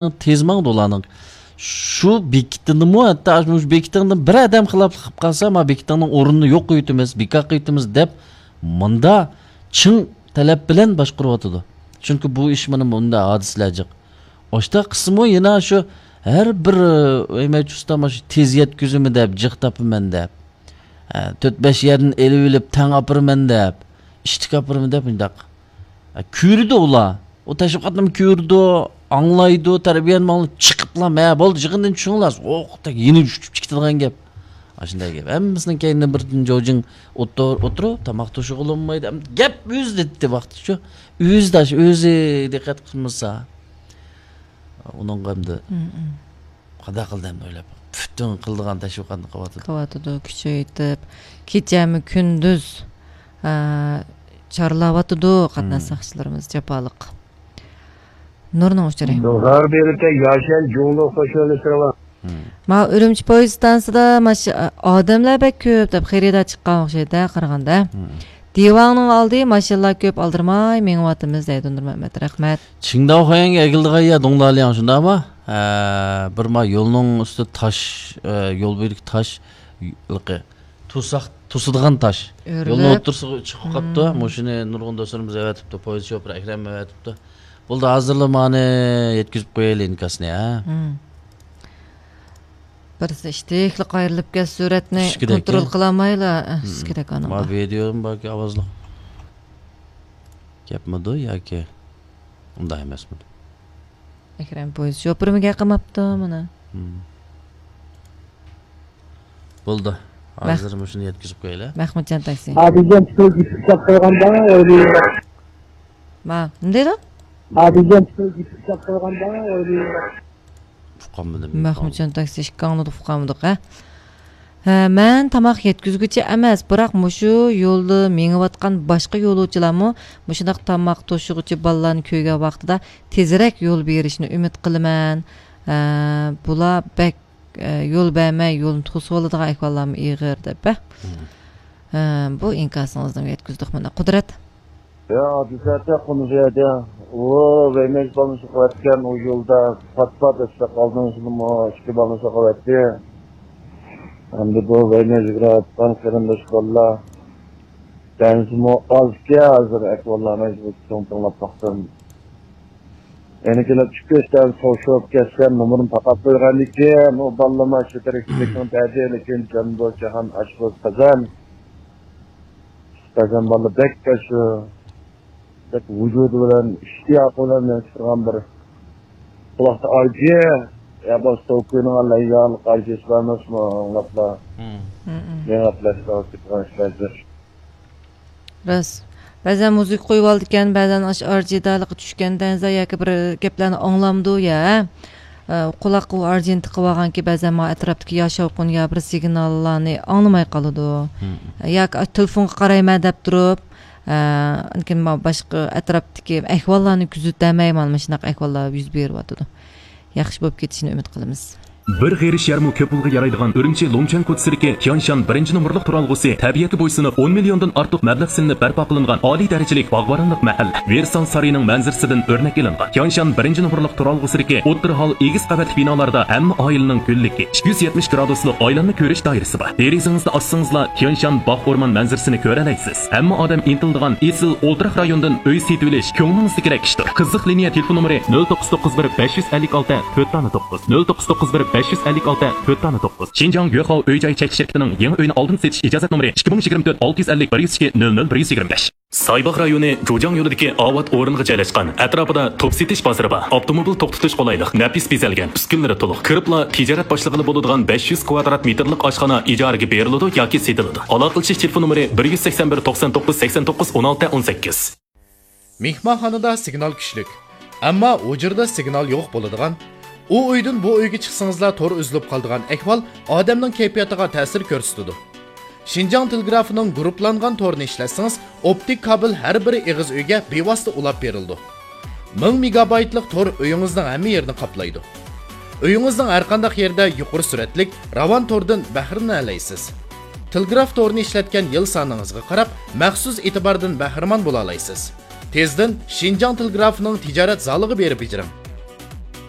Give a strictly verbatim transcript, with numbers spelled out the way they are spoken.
تېز ماڭىدۇ ئۇلارنىڭ. شۇ بېكىتىنىمۇ، ھەتتا مۇشۇ بېكىتىڭدىن بىر ئادەم خىلاپلىق قىلىپ قالسا، ما بېكىتىڭنىڭ ئورنىنى يوق قىلىۋېتىمىز، بىكار قىلىۋېتىمىز دەپ، مۇندا چىڭ تەلەپ بىلەن باشقۇرۇۋاتىدۇ. چۈنكى بۇ ئىش مانا مۇنداق ھادىسىلەر جىق. ئاشتا قىسمۇ يەنە شۇ ھەر بىر، ئەي، مەن چۇستا مانا شۇ تېز يەتكۈزىمەن دەپ، جىق تاپىمەن دەپ، ھە، تۆت بەش يەردىن ئېلىۋېلىپ تەڭ ئاپىرىمەن دەپ، ئىشتىك ئاپىرىمەن دەپ مۇنداق. ھە، كۆرىدۇ ئۇلار. ئۇ تەشۋىقاتنىمۇ كۆرىدۇ، ئاڭلايدۇ، تەربىيەنى ئاڭلاپ چىقىپلا، مە، بولدى، يىغىندىن چۈشۈڭلار. ئوق، تەك يېنى چۈشۈپ كېتىدىغان گەپ. ئاشۇنداق گەپ. ھەممىسىنىڭ كەينىدىن بىردىن جوجىڭ ئوتۇر-، ئولتۇرۇپ، تاماق توشۇغىلى بولمايدۇ. ئەمدى گەپ ئۆزى دەيتتى ۋاقتى شۇ. ئۆزى داش، ئۆزى دىققەت قىلمىسا. ئۇنىڭغا ئەمدى مم، مم. قانداق قىلدى ئەمدى ئويلاپ. پۈتۈن قىلىدىغان تەشۋىقاتنى قىلىۋاتىدۇ. قىلىۋاتىدۇ، كۈچەيتىپ. كېچەمۇ كۈندۈز، ئە، چارلاۋاتىدۇ قاتناش مم. ساقچىلىرىمىز جاپالىق. نۇرنىڭ ئۇچۇرى. زار بېرىپ ياشەن جۇڭلۇ قوشۇنى سىرىغا. مم. ما ئۈرۈمچى پويىز ئىستانسىدا ماش-، ئادەملەر بەك كۆپ دەپ خېرىدار چىققان ئوخشايدۇ قارىغاندا. مم. دىۋاڭنىڭ ئالدى ماشىنىلار كۆپ ئالدىرىماي مېڭىۋاتىمىز دەيدۇ نۇرمەمەت. رەھمەت. چىڭداۋخۇەنگە ئەگىلىدىغان يەر دۇڭلالياڭ شۇنداقمۇ؟ ھە، بىر ما يولنىڭ ئۈستى تاش، ئە، يول بويىدىكى تاش لىقى. توساق، توسىدىغان تاش. ئۆرۈلۈپ. يولنىڭ ئوتتۇرىسىغا چىقىپ قاپتۇ. مم. مۇشۇنى نۇرغۇن دوستلىرىمىز ئەۋەتىپتۇ، پويىز شوپۇرى ئەكرەم ئەۋەتىپتۇ. بولدى، ھازىرلا مانى يەتكۈزۈپ قويايلى ئىنكاسنى، ھە؟ مم. بىرسى ئىشتىكلا قايرىلىپ كەتسە سۈرەتنى كونترول قىلالمايلا، ئە، مم. سۈكۈتەك ئانىڭغا. ما ۋىدېيومۇ باركى ئاۋازلىق. گەپمىدۇ ياكى ئۇنداق ئەمەسمىدۇ؟ ئەكرەم پويىز شوپۇرىمۇ گەپ قىلماپتۇ مانا. مم. بولدى. مەخ-، ھازىر مۇشۇنى يەتكۈزۈپ قويايلى. مەخمۇتجان تاكسى. ئادىلجان تۈپەي گېپى چاپ قىلغاندا ئۆيلى. ما، نېمە دەيدۇ؟ ئادىلجان تۈپەي گېپى چاپ قىلغاندا ئۆيلى. ئۇقالمىدىم. مەخمۇتجان تاكسى ئىككى ئاڭلىدۇق، ئۇقالمىدۇق، ھە؟ ھە، مەن تاماق يەتكۈزگۈچى ئەمەس، بىراق مۇشۇ يولدا مېڭىۋاتقان باشقا يولۇچىلارمۇ مۇشۇنداق تاماق توشۇغۇچى بالىلارنى كۆرگەن ۋاقتىدا تېزرەك يول بېرىشىنى ئۈمىد قىلىمەن. ھە، بۇلار بەك، ھە، يول بەرمەي، يولنى توسۇۋالىدىغان ئەھۋاللارمۇ ئېغىر دەپ، ھە؟ مم. ھە، بۇ ئىنكاسىڭىزنى يەتكۈزدۇق مانا. قۇدرەت. يا، دېسەتە قونۇش يەردە. ئۇ ۋەيمەن بالىنى سوقۇۋەتكەن، ئۇ يولدا پات-پات ئۆتسە قالدىڭىزمۇ، ئىككى بالىنى سوقۇۋەتتى. ئەمدى بۇ ۋەيمەن يۈگۈرۈۋاتقان قېرىنداش بالىلار دەنسىمۇ ئازكەن، ھازىر ئەھۋاللارنى چوڭ تىڭلاپ باقتىم. يەنە كېلىپ ئىككى-ئۈچ دانە سوشۇپ كەتسەم، نومۇرىنى تاقاپ قويغاندىكىن، ئۇ بالىلارمۇ شۇ تىرىكچىلىكنىڭ دەردى، لېكىن جان بوز جاھان، ئاش بوز قازان. قازان بالىلار بەك ئاشۇ، بەك ۋۇجۇدى بىلەن، ئىشتىياقى بىلەن مېڭىپ تۇرغان بىر قۇلاقتا ئارجى، يا بولمىسا توكىنىڭ لەيلالىق ئارجىسى بار ئەمەسمۇ، ئاڭلاپلا. مم. مم، مم. مېڭىپ لەشكەر كېتىدىغان ئىشلار. راست. بەزەن مۇزىكا قويۇۋالىدىكەن، بەزەن ئاشۇ ئارجىدالىققا چۈشكەندە يا كى بىر گەپلەرنى ئاڭلامدۇ يا، ھە؟ ئە، قۇلاققا ئۇ ئارجىنى تىقىۋالغانكى بەزەن ما ئەتراپتىكى ياشاۋقۇن يا بىر سىگناللارنى ئاڭلىماي قالىدۇ. مم. ياكى تېلېفونغا قارايمەن دەپ تۇرۇپ، ئە، لېكىن ما باشقا ئەتراپتىكى ئەھۋاللارنى كۆزىتەلمەي مانا مۇشۇنداق ئەھۋاللار يۈز بېرىۋاتىدۇ. ياخشى بولۇپ كېتىشىنى ئۈمىد قىلىمىز. بىر غېرىش يەرمۇ كۆپ پۇلغا يارايدىغان ئۈرۈمچى لۇڭچەن كوچىسىدىكى تيانشان بىرىنچى نومۇرلۇق تۇرالغۇسى تەبىئەتكە بويسۇنۇپ، ئون مىليوندىن ئارتۇق مەبلەغ سېلىنىپ بەرپا قىلىنغان ئالىي دەرىجىلىك باغۋەنلىك مەھەللە. ۋېرسال سارىيىنىڭ مەنزىرىسىدىن ئۆرنەك ئېلىنغان تيانشان بىرىنچى نومۇرلۇق تۇرالغۇسىدىكى ئوتتۇرا ھال ئېگىز قەۋەتلىك بىنالاردا ھەممە ئائىلىنىڭ گۈللۈكى، ئىككى يۈز يەتمىش گرادۇسلۇق ئايلانما كۆرۈش دائىرىسى بار. دېرىزىڭىزنى ئاچسىڭىزلا تيانشان باغ ئورمان مەنزىرىسىنى كۆرەلەيسىز. ھەممە ئادەم ئىنتىلىدىغان ئېسىل ئولتۇراق رايونىدىن ئۆي سېتىۋېلىش كۆڭلىڭىزدىكىدەك ئىشتۇر. قىزىق لىنىيە تېلېفون نومۇرى: نۆل توققۇز توققۇز بىر بەش يۈز ئەللىك ئالتە تۆت دانە توققۇز، نۆل توققۇز توققۇز بىر بەش يۈز ئەللىك ئالتە تۆت دانە توققۇز. شىنجاڭ يۆخاۋ ئۆي جاي چەكلىك شىركىتىنىڭ يېڭى ئۆينى ئالدىن سېتىش ئىجازەت نومۇرى: ئىككى مىڭ يىگىرمە تۆت ئالتە يۈز ئەللىك بىر يۈز ئىككى نۆل نۆل بىر يۈز يىگىرمە بەش. سايباغ رايونى جۇجاڭ يولىدىكى ئاۋات ئورنىغا جايلاشقان. ئەتراپىدا توپ سېتىش بازىرى بار. ئاپتوموبىل توختىتىش قولايلىق، نەپىس بېزەلگەن، ئۈسكۈنىلىرى تولۇق. كىرىپلا تىجارەت باشلىغىلى بولىدىغان بەش يۈز كۋادرات مېتىرلىق ئاشخانا ئىجارىگە بېرىلىدۇ ياكى سېتىلىدۇ. ئالاقىلىشىش تېلېفون نومۇرى: بىر يۈز سەكسەن بىر، توقسان توققۇز، سەكسەن توققۇز، ئون ئالتە، ئون سەككىز. مېھمانخانىدا سىگنال كۈچلۈك، ئەمما ھۇجرىدا سىگنال يوق بولىدىغان، ئۇ ئۆيدىن بۇ ئۆيگە چىقسىڭىزلا تور ئۈزۈلۈپ قالىدىغان ئەھۋال ئادەمنىڭ كەيپىياتىغا تەسىر كۆرسىتىدۇ. شىنجاڭ تېلېگرافىنىڭ گۇرۇپپىلانغان تورىنى ئىشلەتسىڭىز، ئوپتىك كابېل ھەر بىر ئېغىز ئۆيگە بىۋاسىتە ئۇلاپ بېرىلىدۇ. مىڭ مېگابايتلىق تور ئۆيىڭىزنىڭ ھەممە يېرىنى قاپلايدۇ. ئۆيىڭىزنىڭ ھەرقانداق يېرىدە يۇقىرى سۈرئەتلىك، راۋان توردىن بەھرىلىنەلەيسىز. تېلېگراف تورىنى ئىشلەتكەن يىل سانىڭىزغا قاراپ، مەخسۇس ئېتىباردىن بەھرىمەن بولالايسىز. تېزدىن شىنجاڭ تېلېگرافىنىڭ تىجارەت زالىغا بېرىپ بېجىرىڭ.